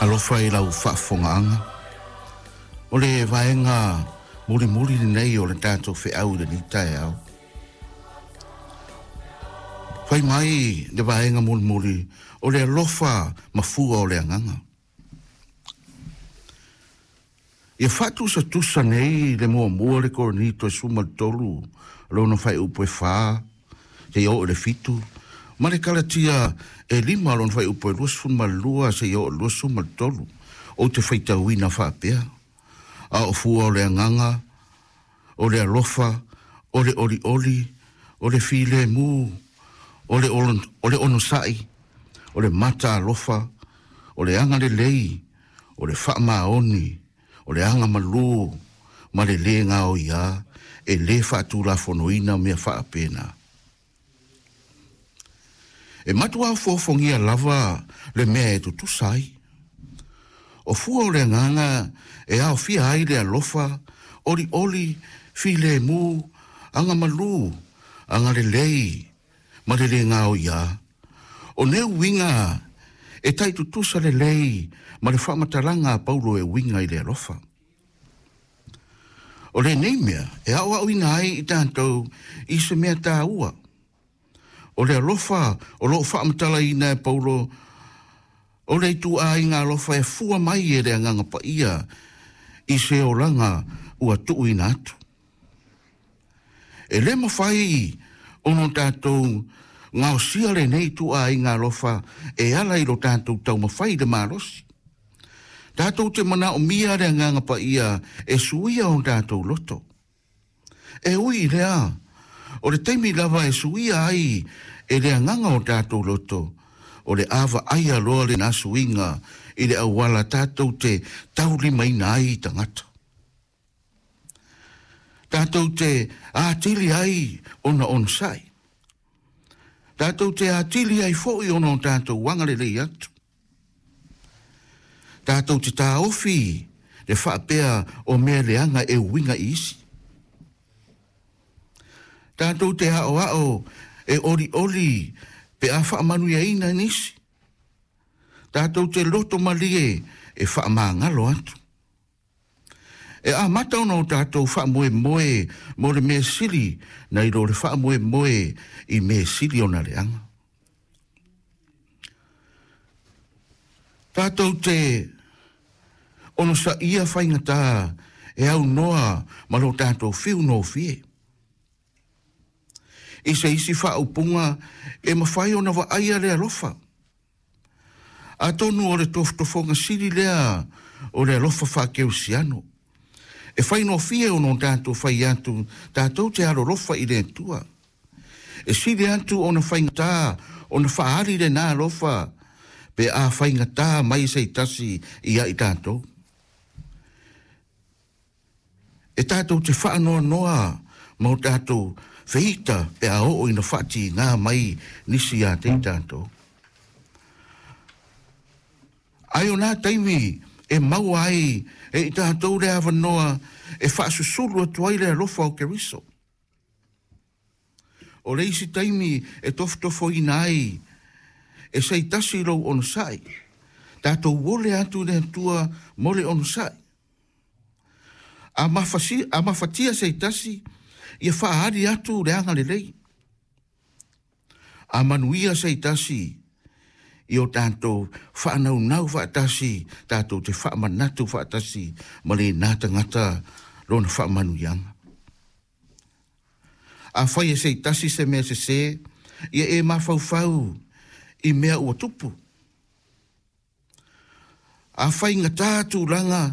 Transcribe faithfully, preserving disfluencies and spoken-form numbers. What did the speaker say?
Alofa i lau faafofogaaga. O le vaega mulimuli lenei o le tatou feau i lenei taeao. Fai mai le vaega mulimuli o le alofa mafua o le agaga. Ia faatusatusa nei le muamua le Korinito e sefulu ma le tolu, lona faaiupu e fa, seia oo i le fitu, ma le Kalatia e lima lona faaiupu e luasefulu ma le lua seia oo i le luasefulu ma le tolu. Ou te faitauina faapea, a o fua o le agaga, o le alofa, o le olioli, o le filemu, o le o le onosai, o le mata alofa, o le agalelei, o le faamaoni, o le agamalu ma le lē gaoiā, e lē faatulafonoina mea faapena. E matuā ofofogia lava le mea e tutusa ai. O fua o le agaga e aofia ai le alofa, olioli, filemu, agamalu, agalelei ma le lē gaoiā. O nei uiga e taitutusa lelei ma le faamatalaga a Paulo e uiga i le alofa. O lenei mea e aoaoina ai i tatou i se mea taua. O le alofa o loo faamatalaina e Paulo, o le ituaiga alofa e fua mai e le agaga paia i se olaga ua tuuina atu. E lē mafai ona tatou gaosia lenei ituaiga alofa e ala i lo tatou taumafai i le malosi. Tatou te manaomia le agaga paia e suia o tatou loto. E ui i lea, o le taimi lava e suia ai e le agaga o tatou loto, o le a vaaia loa lena suiga i le auala tatou te taulimaina ai i tagata. Tatou te atili ai ona onosai. Tatou te atili ai foi ona o tatou agalelei atu. Tatou te taofi le faapea o mea leaga e uiga i isi. Tatou te aoao e olioli pe a faamanuiaina nisi. Tatou te loto malie e faamagalo atu. E amata ona o tatou faamoemoe mo le mea sili nai lo le faamoemoe i mea sili ona leaga. Tatou te onosaia faigata e aunoa ma lo tatou fiu nofie. I se isi faaupuga e mafai ona vaaia le alofa. Atonu o le tofotofoga sili lea o le alofa faakerisiano. E faigofie ona tatou fai atu tatou te alolofa i le Atua. E sili atu ona faigata ona faaali lena alofa pe a faigata mai se tasi ia i tatou. E tatou te faanoanoa ma o tatou feita pe a oo ina faatiga mai nisi ia te i tatou. Ai o nā taimi e maua ai e i tatou le avanoa e faasusulu atu ai le alofa o Keriso. O le isi taimi e tofotofoina ai e se tasi lou onosai. Tatou ole atu le Atua mo le onosai. A mafasi, a mafatia se tasi, ia faali atu le agalelei. A manuia se tasi, i o tatou faanaunau faatasi, tatou te faamanatu faatasi ma lena tagata lona faamanuiaga. A fai e se tasi se mea sesē, ia e mafaufau i mea ua tupu. A faigata tulaga,